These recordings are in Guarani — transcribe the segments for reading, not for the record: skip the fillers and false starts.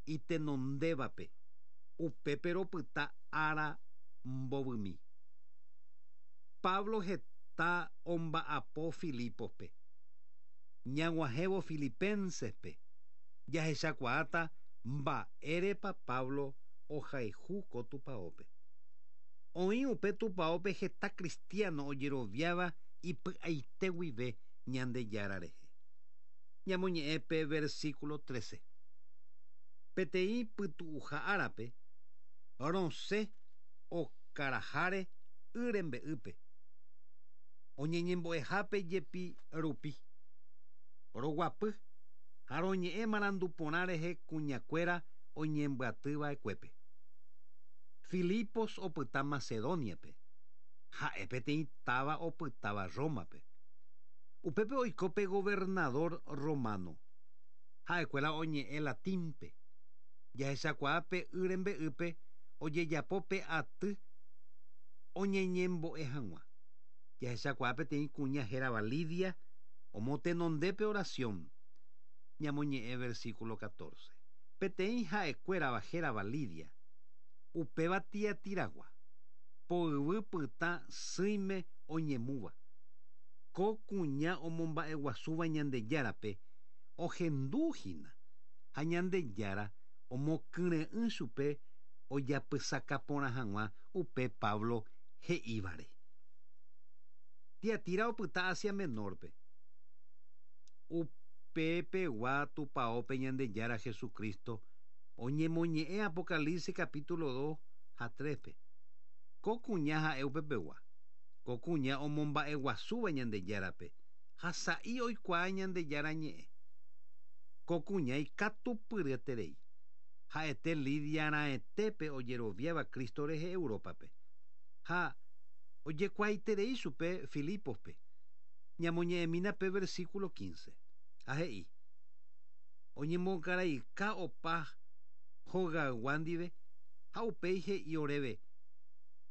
itenondévape, upépe ropyta ára mbovymi. Pablo heta omba'apo Filípospe. Ñag̃uahẽvo Filipénsespe, jahechakuaáta mba'érepa Pablo ohayhu ko tupaópe. Oĩ upe tupaópe heta kristiáno ojeroviáva ipy'aite guive Ñandejára rehe. Ñamoñe'ẽ pe versíkulo trece. Peteĩ pytu'uha árape, rosẽ okaraháre y rembe'ýpe, oñeñembo'ehápe jepi rupi. Roguapy ha roñe'ẽ marandu porã rehe kuñakuéra oñembyaty va'ekuépe. Filipos opyta Macedóniape, ha'e peteĩ táva opytáva Rómape. Upépe oiko pe governadór rrománo. Ha'ekuéra oñe'ẽ latínpe. Jahechakuaa pe y rembe'ýpe ojejapo pe aty oñeñembo'e hag̃ua. Jahechakuaa peteĩ kuña hérava Lidia omotenonde pe orasión. Ñamoñe'ẽ versíkulo catorce. Peteĩ ha'ekuérava hérava Lidia, upéva Tiatiragua, poyvy pytã sỹime oñemúva. Ko kuña omomba'eguasúva Ñandejárape ohendu hína, ha Ñandejára omokyre'ỹ chupe ojapysaka porã hag̃ua upe Pablo he'ívare. Tiatira opyta Asia Menor-pe. Upepegua tupaópe Ñandejára Jesucristo oñemoñe'ẽ Apocalipsis capítulo dos ha tres-pe. Ko kuña ha'e upepegua. Ko kuña omomba'eguasúva Ñandejárape ha sa'i oikuaa Ñandejára ñe'ẽ. Ko kuña ikatupyryeterei. Ha'ete Lidia raẽtépe ojeroviáva Cristo rehe Európape. Ha ojekuaaiterei chupe Filípospe. Ñamoñe'ẽmína pe versículo quince. Ha he'i, Oñemongaraika opa hogaygua ndive ha upéi he'i oréve,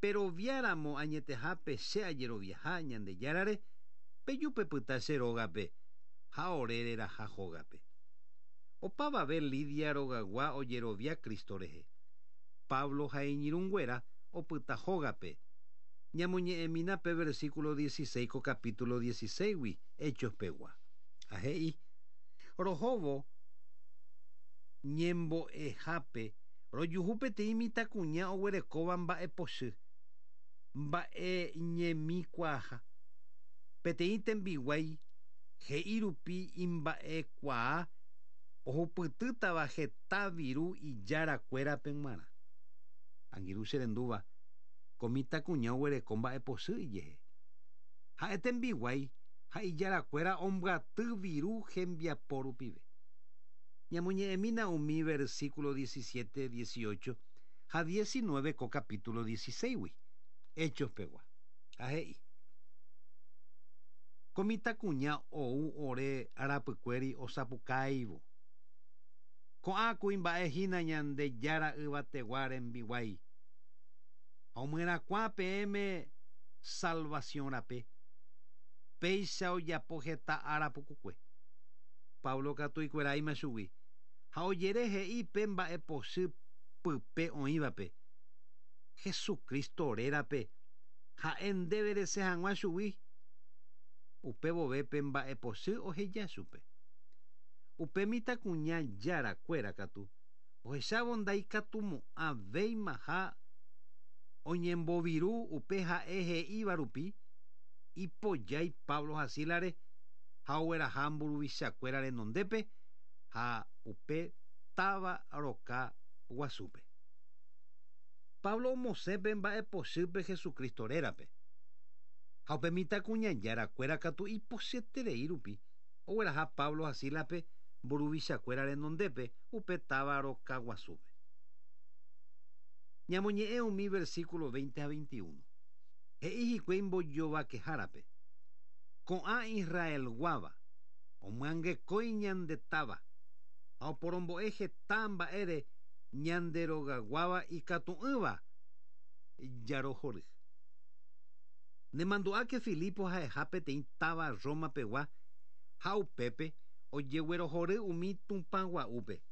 Perovia ramo añetehápe che ajeroviaha Ñandejárare, peju pepyta che rógape ha ore reraha hógape. Opavave Lidia rogaygua ojerovia Cristo rehe. Pablo ha iñirũnguéra opyta hógape. Ñamoñe'ẽmína pe versículo dieciséis ko capítulo dieciséisgui Hechos pegua. Ha he'i, Rohóvo ñembo'ehápe rojuhu peteĩ mitãkuña oguerekóva mba'epochy, mba'e ñemikuaaha. Peteĩ tembiguái he'i rupi imba'ekuaa ohupytýtava heta viru ijára kuérape g̃uarã. Angirũ che rendúva, ko mitãkuña oguereko mba'epochy ijehe. Ha'e tembiguái ha ijára kuéra ombyaty viru hembiapo rupive. Ñamoñe'ẽmína umi versículo diecisiete, dieciocho ha diecinueve ko capítulo dieciséisgui, Hechos pegua. Ha he'i. Ko mitãkuña ou ore rapykuéri osapukáivo. Ko'ã kuimba'e hína Ñandejára yvategua rembiguái, ha omyerakuã peẽme salvasiõ rape. Péicha ojapo heta ára pukukue. Pablo katu ikueráima chugui, ha ojere he'i pe mba'epochy pype oĩvape, Jesucristo rérape Ha'e ndéve resẽ hag̃ua chugui. Upe vove pe mba'epochy oheja chupe. Upe mitãkuña jára kuéra katu, ohechávo ndaikatumo'ã véimaha oñemboviru upe ha'e he'íva rupi, ipojái Pablo ha Sílare ha ogueraha mburuvicha kuéra renondépe ha upe táva roka guasúpe. Pablo omosẽ pe mba'epochýpe Jesucristo rérape. Ha upe mitãkuñajára kuéra katu ipochyeterei rupi, ogueraha Pablo ha Sílaspe mburuvichakuéra renondépe upe táva roka guasúpe. Ñamoñe'ẽ umi versículo veinte ha veintiuno. He'i hikuái mbojovakehárape, Ko'ã Israelguáva omyangekói ñande táva ha oporombo'e heta mba'ére ñande rogaguáva ikatu'ỹva jarohory. Nemandu'áke Filipo ha'eha peteĩ táva Roma pegua ha upépe ojeguerohory umi tupã gua'úpe.